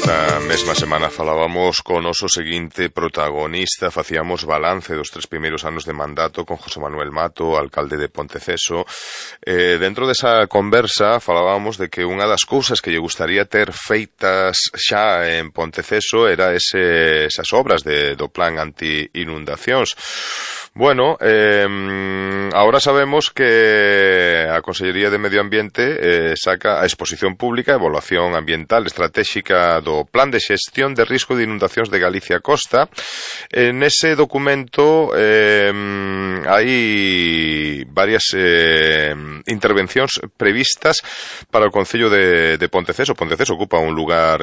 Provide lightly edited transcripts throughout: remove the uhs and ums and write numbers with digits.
Esta mesma semana falábamos con noso seguinte protagonista, facíamos balance dos 3 primeiros anos de mandato con José Manuel Mato, alcalde de Ponteceso. Dentro desa conversa falábamos de que unha das cousas que lle gustaría ter feitas xa en Ponteceso era esas obras do plan anti-inundacións. Bueno, ahora sabemos que a Consellería de Medio Ambiente saca a exposición pública Evaluación Ambiental Estratégica do Plan de Xestión de Risco de Inundacións de Galicia Costa. Nese documento hai varias intervencións previstas para o Concello de Ponteceso. Ponteceso ocupa un lugar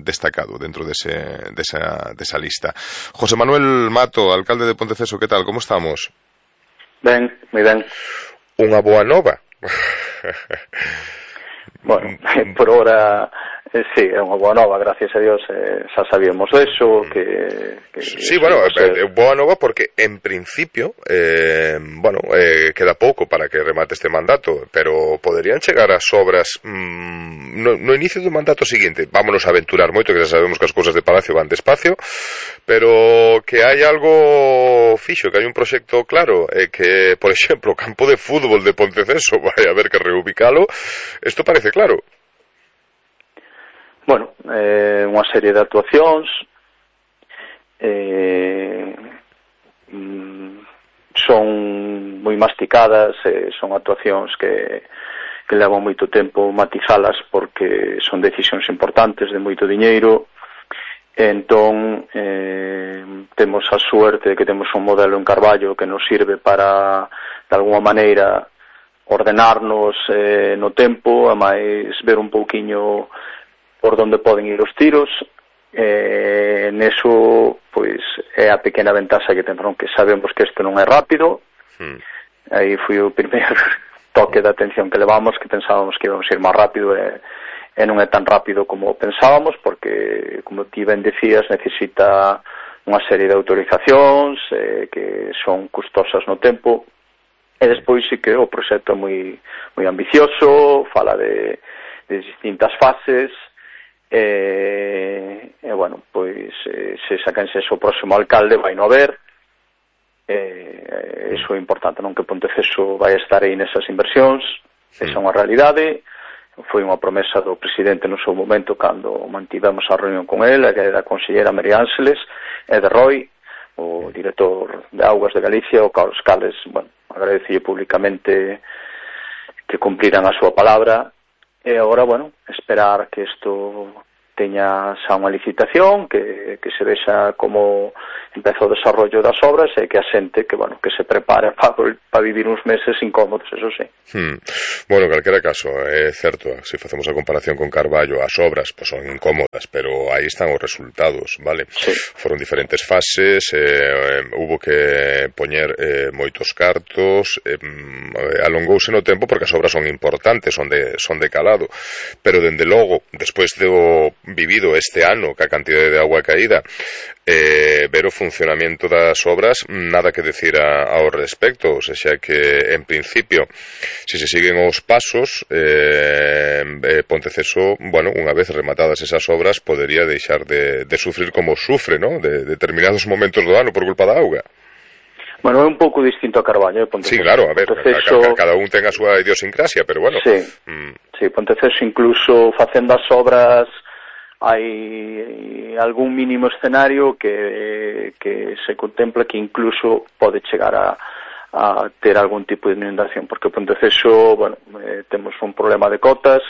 destacado dentro desa lista. José Manuel Mato, alcalde de Ponteceso, que tal? Como estamos? Ben, moi ben. Unha boa nova. Bueno, por hora, sí, é unha boa nova, gracias a Dios, xa sabíamos eso, que sí, bueno, boa nova porque, en principio, queda pouco para que remate este mandato, pero poderían chegar as obras no inicio do mandato seguinte. Vámonos a aventurar moito, que xa sabemos que as cousas de Palacio van despacio, pero que hai algo fixo, que hai un proxecto claro, que, por exemplo, o campo de fútbol de Ponteceso vai haber que reubicalo. Isto parece claro. Bueno, unha serie de actuacións son moi masticadas, son actuacións que levan moito tempo matizalas porque son decisións importantes de moito diñeiro. Entón temos a suerte de que temos un modelo en Carballo que nos sirve para, de alguma maneira, ordenarnos no tempo, a máis ver un pouquiño por onde poden ir os tiros. Neso, pois, é a pequena ventaxa que temos, que sabemos que isto non é rápido. Aí foi o primeiro toque de atención que levamos, que pensábamos que íbamos a ir máis rápido, e non é tan rápido como pensábamos, porque, como ti ben decías, necesita unha serie de autorizacións que son custosas no tempo. E despois sí que o proxecto é moi ambicioso, fala de distintas fases, bueno, pois se sacanse o próximo alcalde vai no haber, iso é importante, non, que Ponteceso vai estar aí nesas inversións. Esa é unha realidade, foi unha promesa do presidente no seu momento cando mantivemos a reunión con ele, que era a consellera María Ángeles, e de Roy, o director de Augas de Galicia, o Carlos Cales. Bueno, agradecille públicamente que cumpriran a súa palabra, e agora, bueno, esperar que isto teña xa unha licitación, que se vexa como empeza o desarrollo das obras, e que a xente que, bueno, que se prepare para vivir uns meses incómodos, eso sí. Bueno, en calquera caso, é certo, se facemos a comparación con Carballo, as obras pues, son incómodas, pero aí están os resultados, vale? Sí. Foron diferentes fases, hubo que poñer moitos cartos, alongouse no tempo porque as obras son importantes, son de calado, pero dende logo, despois do vivido este ano, que a cantidade de agua caída, ver o funcionamento das obras, nada que decir ao respecto, o sea que, en principio, se siguen os pasos, Ponteceso, bueno, unha vez rematadas esas obras, podería deixar de sufrir como sufre, ¿no?, de determinados momentos do ano por culpa da auga. Bueno, é un pouco distinto a Carballo, Ponteceso. Sí, claro, a ver, Ponteceso... cada un ten a súa idiosincrasia, pero bueno. Sí, Ponteceso, incluso facendo as obras, hai algún mínimo escenario que se contempla que incluso pode chegar a ter algún tipo de inundación, porque Ponteceso, bueno, temos un problema de cotas,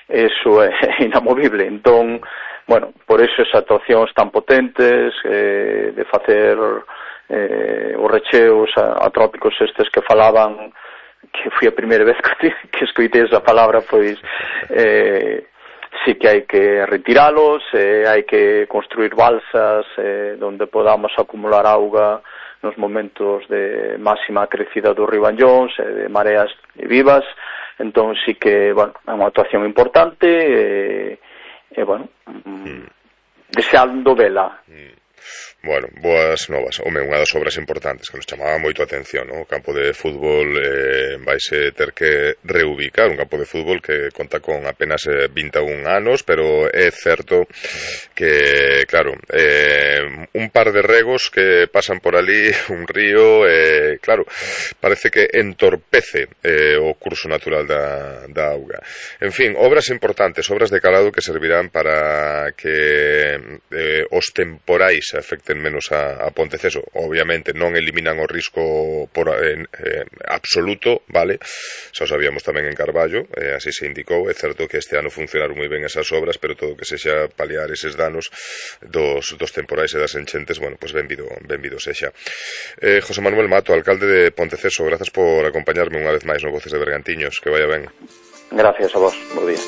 eso é inamovible. Entón, bueno, por eso esas actuacións tan potentes, de facer os recheos atrópicos estes que falaban, que foi a primeira vez que escoitei esa palabra, pois sí que hai que retiralos, hai que construir balsas onde podamos acumular auga nos momentos de máxima crecida do río Anllóns, de mareas vivas. Entón sí que, bueno, é unha actuación importante, bueno, deseando vela. Bueno, boas novas. Home, unha das obras importantes que nos chamaba moito a atención, ¿no? O campo de fútbol vaise ter que reubicar, un campo de fútbol que conta con apenas 21 anos, pero é certo que, claro, un par de regos que pasan por ali, un río, claro, parece que entorpece o curso natural da auga. En fin, obras importantes, obras de calado que servirán para que os temporais afecten menos a Ponteceso. Obviamente non eliminan o risco absoluto, vale? Xa o sabíamos tamén en Carballo, así se indicou. É certo que este ano funcionaron moi ben esas obras, pero todo que sexa paliar eses danos dos temporais e das enchentes, bueno, pues benvido sexa. José Manuel Mato, alcalde de Ponteceso, grazas por acompañarme unha vez máis no Voces de Bergantiños, que vaya ben. Gracias a vos, bo día.